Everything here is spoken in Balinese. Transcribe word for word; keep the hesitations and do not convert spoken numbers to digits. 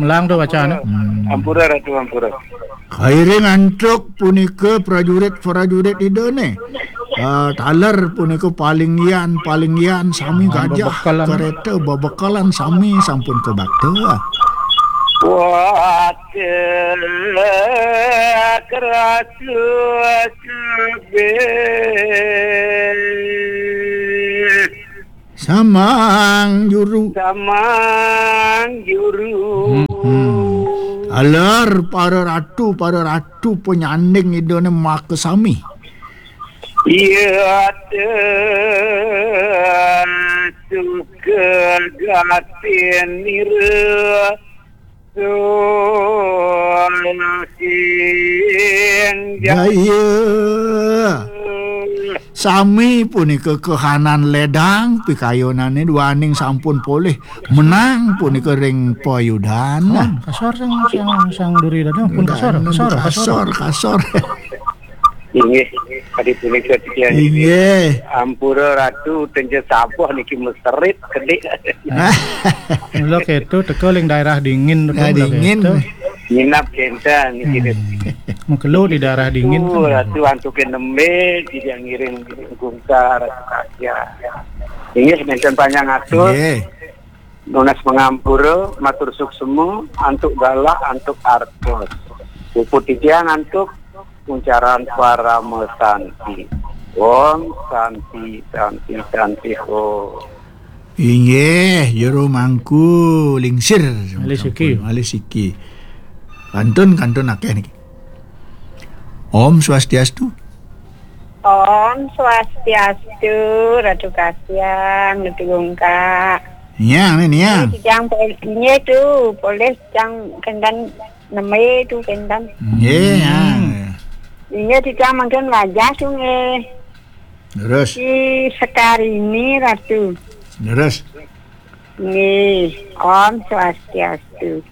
Lang tu bacaan, eh. Hmm. Ampura, Ratu, ampura. Kairing antuk punika prajurit-prajurit Ida ne. Ah, taler punika palinggihan-palinggihan sami. Ah, gajah, bebekelan. Kereta bebekelan sami sampun kabakta. Wah, keratu kabeh. Samang juru. Samang juru. Hmm. Alar para ratu, para ratu panyanding Ida ne makasami. Iya, suka gatin nira. Sing jaya. Sami punika kahanan ledang pikayunane duaning sampun polih menang punika ring payudan. Nah, kasor sang, sang, sang duri dada pun kasor, kasor, kasor. Inggih, kadi punika titiang. Inggih. Ampura Ratu, tenja sabuh niki meserit kedik. Mula keto teka ling daerah dingin tu. Daerah dingin. Nginap kenten niki. Hmm. Mengkelo di daerah dingin tu. Ratu antukin nembe, tidak ngiring gungkar, Ratu Kasia. Inggih, nenten panjang atur. Inggih. Nunas pangampura, matur suksma, antuk galah, antuk artos. Puput titiang antuk uncaran parama santi. Om Santi, Santi, Santi, Om. Inggih, jero mangku lingsir. Malih siki. Malih siki. Kantun, kantun akeh niki. Om Swastiastu. Om Swastiastu, Ratu Kasiang, Ratu Gungkak. Niang, ni, niang. Ini titiang pol-, ini tu, polih titiang kendan neme tu kendan. Nggih, ya. Ini titiang mangkin wajah tu nggih. Terus. Di Sekarini, Ratu. Terus. Nggih, Om Swastiastu.